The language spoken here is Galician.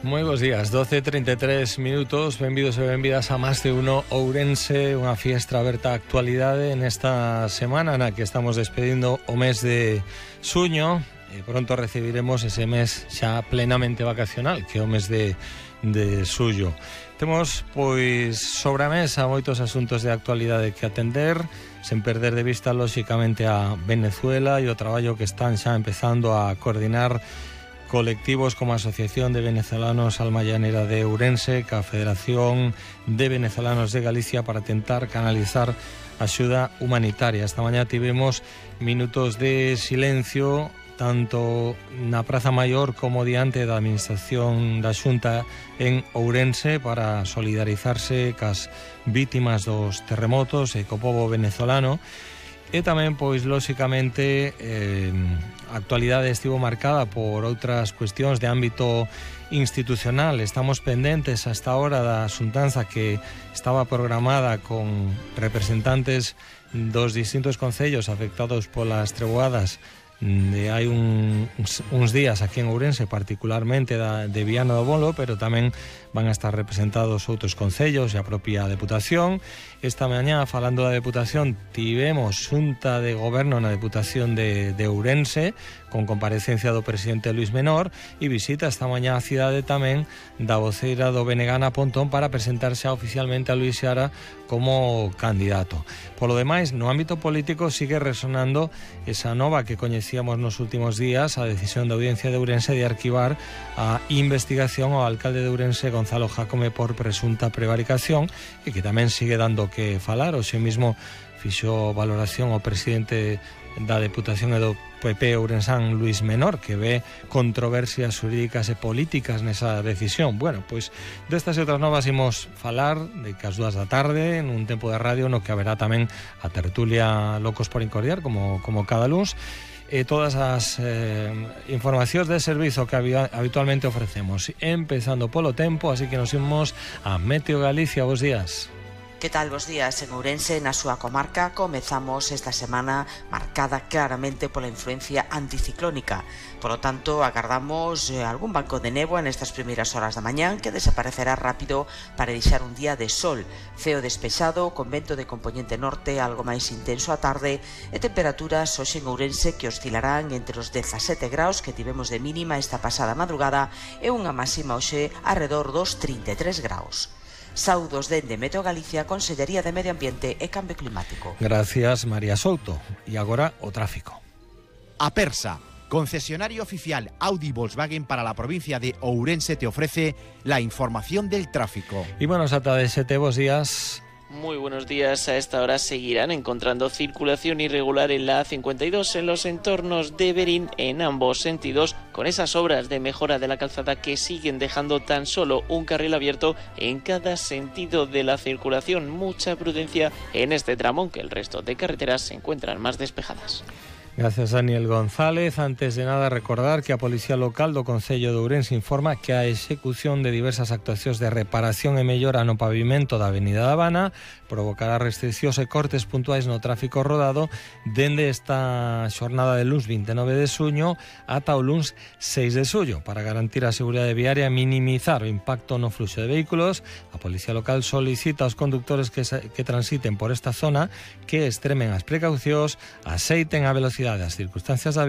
Moi bons días, 12:33 minutos, benvidos e benvidas a Más de Uno Ourense, unha fiestra aberta a actualidade nesta semana na que estamos despedindo o mes de xuño e pronto recibiremos ese mes xa plenamente vacacional, que é o mes de xullo. Temos, pois, sobre a mesa moitos asuntos de actualidade que atender, sen perder de vista, lóxicamente, a Venezuela e o traballo que están xa empezando a coordinar colectivos como a Asociación de Venezolanos Alma Llanera de Ourense, ca Federación de Venezolanos de Galicia, para tentar canalizar axuda humanitaria. Esta mañá tivemos minutos de silencio tanto na Praza Maior como diante da Administración da Xunta en Ourense para solidarizarse cas vítimas dos terremotos e co pobo venezolano. E tamén, pois, lóxicamente, a actualidade estivo marcada por outras cuestións de ámbito institucional. Estamos pendentes hasta ahora da xuntanza que estaba programada con representantes dos distintos concellos afectados polas treboadas de hai uns días aquí en Ourense, particularmente de Viana do Bolo, pero tamén van a estar representados outros concellos e a propia Deputación. Esta mañá, falando da Deputación, tivemos xunta de goberno na Deputación de Ourense, con comparecencia do presidente Luis Menor, e visita esta mañá a cidade tamén da voceira do BNG Pontón para presentarse oficialmente a Luis Seara como candidato. Polo demais, no ámbito político sigue resonando esa nova que coñecíamos nos últimos días, a decisión da Audiencia de Ourense de arquivar a investigación ao alcalde de Ourense, Gonzalo Jácome, por presunta prevaricación, e que tamén sigue dando que falar. Hoxe mismo fixo valoración o presidente da Deputación e do PP ourensán, Luis Menor, que ve controversias xurídicas e políticas nesa decisión. Bueno, pois destas e outras novas imos falar de que ás 2 da tarde nun tempo de radio no que haberá tamén a tertulia Locos por Incordiar, como cada luns, e todas as informacións de servizo que habitualmente ofrecemos, empezando polo tempo, así que nos imos a Meteo Galicia. Bos días. Que tal, bos días? En Ourense, na súa comarca, comezamos esta semana marcada claramente pola influencia anticiclónica. Por lo tanto, agardamos algún banco de néboa nestas primeiras horas da mañán que desaparecerá rápido para deixar un día de sol, ceo despexado, con vento de componente norte algo máis intenso á tarde e temperaturas hoxe en Ourense que oscilarán entre os 17 graus que tivemos de mínima esta pasada madrugada e unha máxima hoxe arredor dos 33 graus. Saudos dende Meteo Galicia, Consellería de Medio Ambiente e Cambio Climático. Gracias, María Souto. E agora o tráfico. Apersa, concesionario oficial Audi Volkswagen para la provincia de Ourense, te ofrece la información del tráfico. Y bueno, Sata de Sete, bos días. Muy buenos días. A esta hora seguirán encontrando circulación irregular en la A52 en los entornos de Berín en ambos sentidos, con esas obras de mejora de la calzada que siguen dejando tan solo un carril abierto en cada sentido de la circulación. Mucha prudencia en este tramo, aunque el resto de carreteras se encuentran más despejadas. Gracias, Daniel González. Antes de nada, recordar que a Policía Local do Concello de Ourense informa que a execución de diversas actuacións de reparación e mellora no pavimento da Avenida da Habana provocará restriccións e cortes puntuais no tráfico rodado dende esta xornada de luns 29 de xuño ata o luns 6 de xullo. Para garantir a seguridade viaria e minimizar o impacto no fluxo de vehículos, a Policía Local solicita aos conductores que transiten por esta zona que extremen as precaucións, aceiten a velocidade as circunstancias da